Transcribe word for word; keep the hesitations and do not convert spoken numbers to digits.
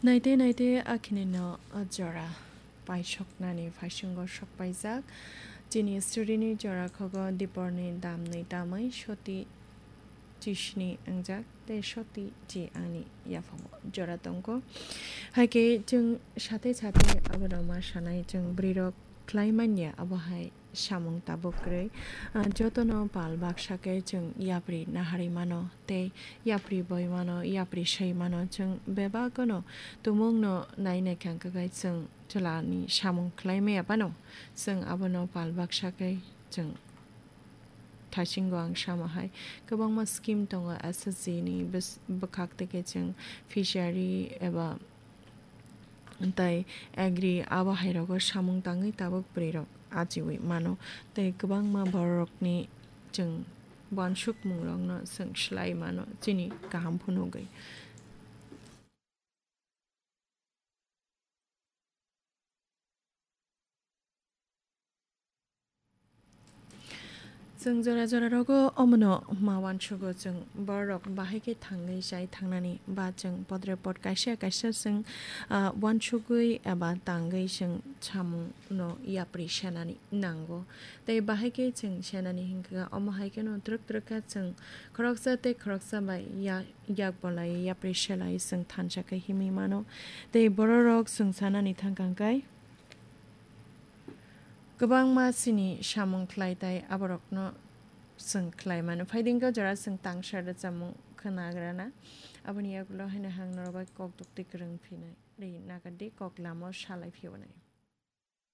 Naite naite akhini no jora paisoknani phaisingo sokpaijak. Chini story ni jora khogo Diporni damni tamwi soti chisni wngjak tei soti chi ani yaphango jora tongo. Haikhe chwng sate sate abono ma sanai chwng bwrwirok khlai manya abo hai samung tabuk kwrwi. Ah, jotono pal baksa khe chwng yapri naharwi mano tei yapri boi mano, yapri soi mano. Chwng bebakno tumungno nai nai kha hwnkhe chwng chwlani samung khlai maya phano chwng abono pal baksa khe chwng thaisingo ang sama hai kwbangma scheme tongo S S G ni bws-, bwkhak tei khe chwng fishery eba tei agri abo hai rogo samung tangwi tabuk bwrwi rok achiwi mano tei kwbangma bororokni chwng uansukmung rokno chwng swlai mano chini kaham phunugwi. Chwng jora jora rogo omono ma uansugo, chwng borok bahai khe thangwi chai thangnani, ba chwng podre pod kaisa kaisa chwng, ah, uansugwi eba tangwi chwng samung no yapri senani nango. Tei bahai khe chwng senani hinkha omo hai kheno twrwk twrwk kha chwng khoroksa tei khoroksa bai ya-, yak bolai yapri selai chwng thansa khe himwi mano. Tei bororok chwng sanani thangkang khe kwbangma chini samung khlai tai aborokno chwng khlai mano. Phaidingkhe jora chwng tangsa rwchapmung khwnagrana. Aboni yagulo haino hang norok bai kok dukti kwrwng phinai ri nakardi kok lama o salai phiyonai.